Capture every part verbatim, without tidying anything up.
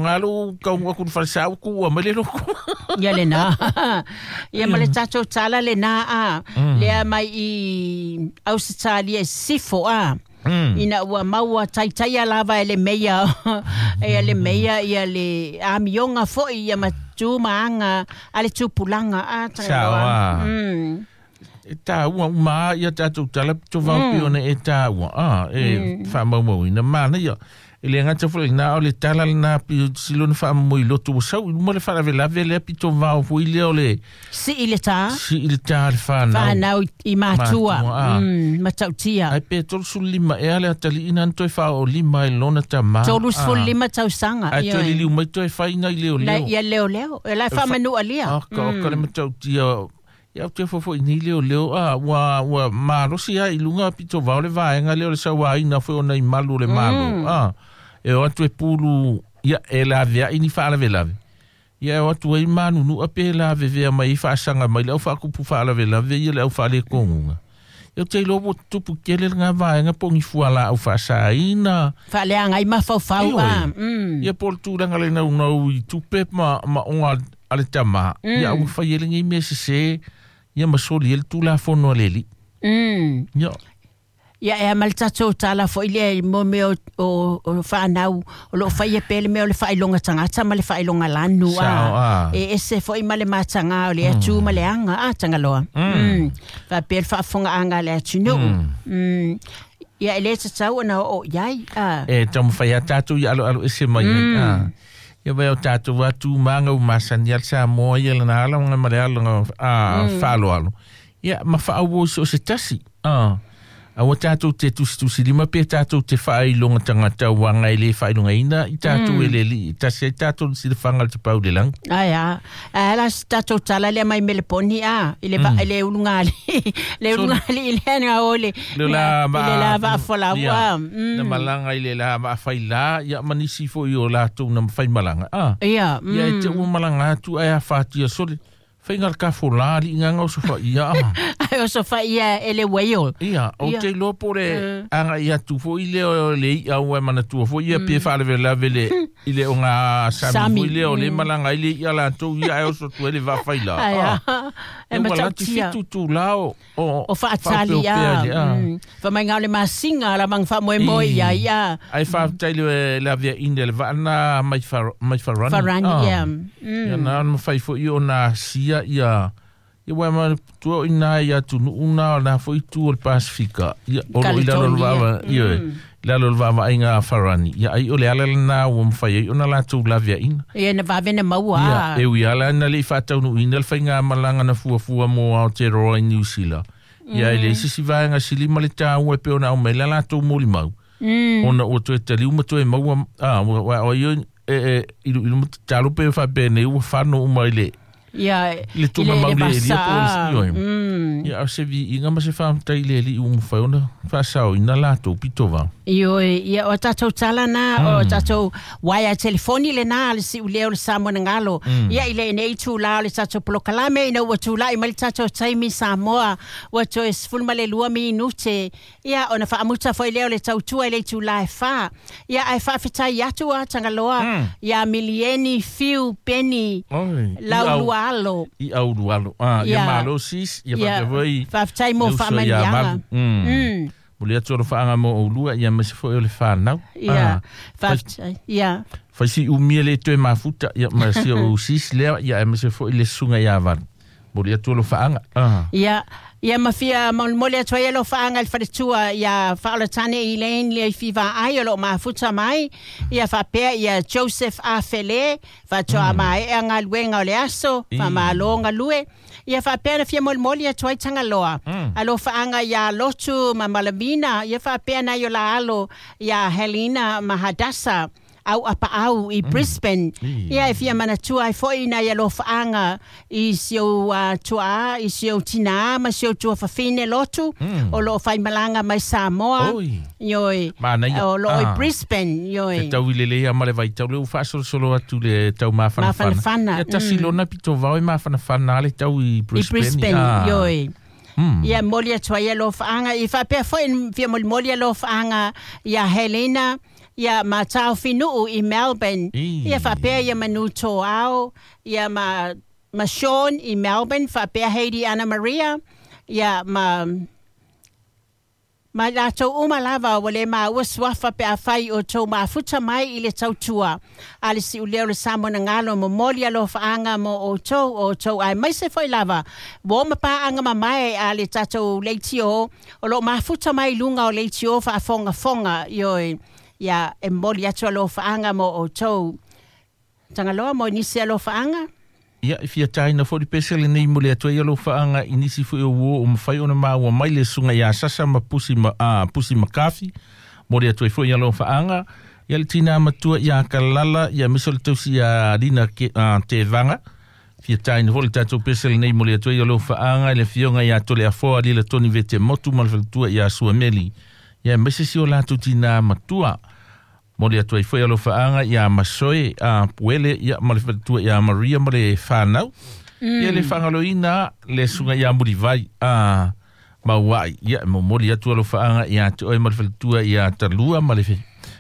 Ngalo kau aku falsa ku a mele loko. Ia le na. Ia ma le tatou tala le na a. Lea mai i Ausitalia e sifo a. Ina ua maua taitaia lava e le meia. E le meia ia le amionga foi ia matu maanga a le tupulanga a. Sao. E tāua uma ia tātou tala to vau pione e tāua. Ah, e whamau ina mana ia. E le ngata foi na o le tala na pi silona fa mo i lotu sau mo le fala vela vela pi to vau foi le o le si i le ta si i le ta le whanau whanau i matua mm matautia ai pe tolu lima e ale atali ina toi fa o lima i lona ta ma tolu lima tausanga ai toi lili mai toi fa ina i leo leo ia leo leo e la fa manu alia ah ka ka le matautia ia te fofo i ni leo leo a ua ua malosi ai lunga pito vau le vaenga leo le saua ina foi ona i malu le malu a e o atu e pulu ia e la vea ini whaalawelawe ia e o atu e manu nu ape la vevea mai whaasanga mai le au whaakupu whaalawelawe ia le au whaale kongunga ia te lobo tupu kele ngā vaenga pongi fuala au whaasaina whaaleanga i mawhauwhau a ia pol tūranga le nau nau i tupe ma, ma onga ale tama ia au whaiele ngai mea sese ia masoli el tula fono leli. Mm. Ia. Ia e mal tatou tala foi le mo me o o whanau o lo whaia pele me o le whailonga tangata ma le whailonga lanu a. E ese foi ma le matanga o le atu ma le anga a tangaloa. Mm. Fa pele whaafonga anga le atu nu. Mm. Ia e le tatau ona o iai a. E tamu whaia tātou i alo alo ese mai a. Ia vai o tātou atu manga u masani al Samoa ia lana ala nga mare ala a whalo alo. Ia ma whaau o se tasi. A ua tātou te tusitusi lima pe tātou te whailonga tangata wanga i le whailonga ina i tātou e le li. Tasi ai tātou si le whanga le te pau le lang. Ai a. Ala si tātou tala lea mai meleponi a. I le, mm. le ulungali. Le ulungali i le anga o le. Le la ma. Le la va folau a. Na malanga i le la ma whaila. Ia manisi fo i o lātou na mwhai malanga. A. Ia. Ia e te ua malanga atu ai a whātia sole. Whainga ka fola li nganga o sofa ia. Ai o sofa ia e le waio. Ia, o te loa pore anga ia tu fo i leo le i au e mana tua fo ia pe whaleve lave le i le o ngā sami fo i leo le malanga i le ia la tau ia ai o so tua le wawhaila. Ai a, e matautia. E wala te la o o whaatali ia. Wha mai ngā le masinga la mang wha moe moe ia ia. Ai whaatai le la via ine le vaana mai wharani. Wharani, ia. Ia nā mawhai fo i o nā sia ia ia wa ma tu ina ia tu una na foi tu o Pasifika ia o lo ila lo va ia la lo va va inga farani ia ai o le ala na o mfai o na la tu la via ina ia na va vena maua ia e ui ala na le fa tau no ina le fainga malanga na fua fua mo Aotearoa i New Zealand ia ile sisi va nga sili ma le tau e pe ona o me la la tu mo limau ona o tu te liu ma tu e maua a o ia e e ilu ilu talo pe fa pe ne o fa no uma ile ia le tuma maule e lia po le ia au se vi inga ma se whamtai le li umu whaona whasao ina lātou pito vau. Io ia o tātou tala nā o tātou waia telefoni le nā le si uleo le Samoa ngalo ia i le nei tū la le tātou polokalame ina ua tū lai mai le tātou taimi Samoa ua toe sefulu ma le lua minute ia ona whaamuta foi leo le tautua i le tū la e wha ia ai whaafetai atu a Tangaloa ia Milieni Fiu Peni Laulua alo. I au alo. Ah, ia malo sis, ia whakawai. Whafetai mo whamanianga. Mm. Mo le atu o whaanga mo o lua, ia mese foi o le whanau. Ia, whafetai, ia. Whaisi umia le toe mafuta, ia mese o sis lea, ia mese foi le sunga ia valu. Mo le atu o whaanga. Ia, ia mawhia mo le atu ai lo whaanga le wharetua ia whaolatane i lein le whiwa ai o lo mafuta mai ia whapea ia Joseph Afele whatoa mm. mai e ngā luenga o le aso mm. whamalo lue ia whapea na whia molimoli atu ai Tangaloa mm. alo whaanga ia Lotu ma Malamina ia whapea na iola alo ia Helena Mahadasa au apa au i Brisbane mm. ia e fia manatua ai foi na ia lo whaanga i sio uh, tua i sio tina ma sio tua whawhine lotu mm. o lo whai malanga mai Samoa ioi o lo i Brisbane ioi te tau i le lea ma le vai tau le u whaasolosolo atu le tau mawhanawhana ia tasi mm. lona pito vau e mawhanawhana le tau i Brisbane i Brisbane ah. Ioi Mm. Ia moli atu ai lo whaanga i whapea foi fia moli moli lo whaanga ia Helena Ia ma Taufinuu i Melbourne. Ia faapea ia Manu Toao, ia ma ma Sean i Melbourne, faapea Heidi Anna Maria, ia ma ma latou uma lava ua le maua suafa pe afai o tou mafuta mai i le tautua a le si'ulea o le Samoa na galo momoli alofaaga mo outou o outou aemaise foi lava ua oma paaga mamae a le tatou leitio o loo mafuta mai luga o leitio faafogafoga ioe ia e momoli atu alofaaga mo outou tagaloa mo nisi alofaaga. Ia, e fia tāina fo di pese le nei mo le atoa ia alofaaga i nisi foi o uo o mawhai ona maua mai le sunga ia sasa ma pusi, ma, a, pusi makafi mo le atoa foi ia alofaaga. Ia le tina matua ia kalala ia miso le tausi ia lina ke, a, te vanga. Fia tāina fo le tātou pese le nei mo le atoa ia alofaaga i le fionga ia tole afoa lila toni vete motu ma le faletua ia suameli. Ia mese si o lātou tina matua. Mo le atoa foi alofaaga ia masoe a puele ia ma le faletua ia Maria ma le whanau. Mm. Ia le whangaloina le sunga ia murivai a mauai. Ia mo moli atu alofaaga ia te oe ma le faletua ia talua ma le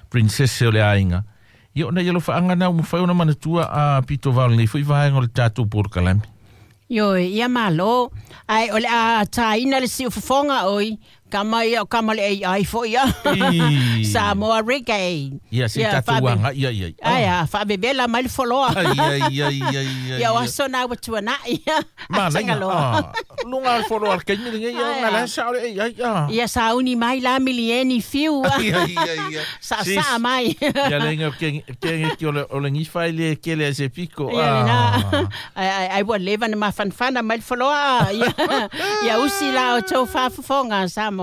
princesse o le ainga. Ia ona ia alofaaga na umawhai ona manatua a pito vau nei foi vaenga o le tātou porokalame. Ioe, ia malo. Ai, o le a tāina le siufofoga oi. Kama ia o kama le A I fo ia. Samoa reggae. Ia, se tātou wanga, ia, ia. Ai, a whaabebela mai le foloa. Ai, ai, ai, ai, ai. Ia, o aso nā watua nā, ia. Ma, lenga, lunga le foloa le kaimi lenga, ia, nga la sa o le A I, ia. Ia, sa uni mai la milieni fiu. Ai, ai, ai, ai. Sa sa mai. Ia, lenga, kenge ki o le ngifa i le kele a se piko. Ia, lena. Ai, ai, ai, ua leva na mafanfana mai le foloa. Ia, ia usi la o tau whaafofonga, Samoa.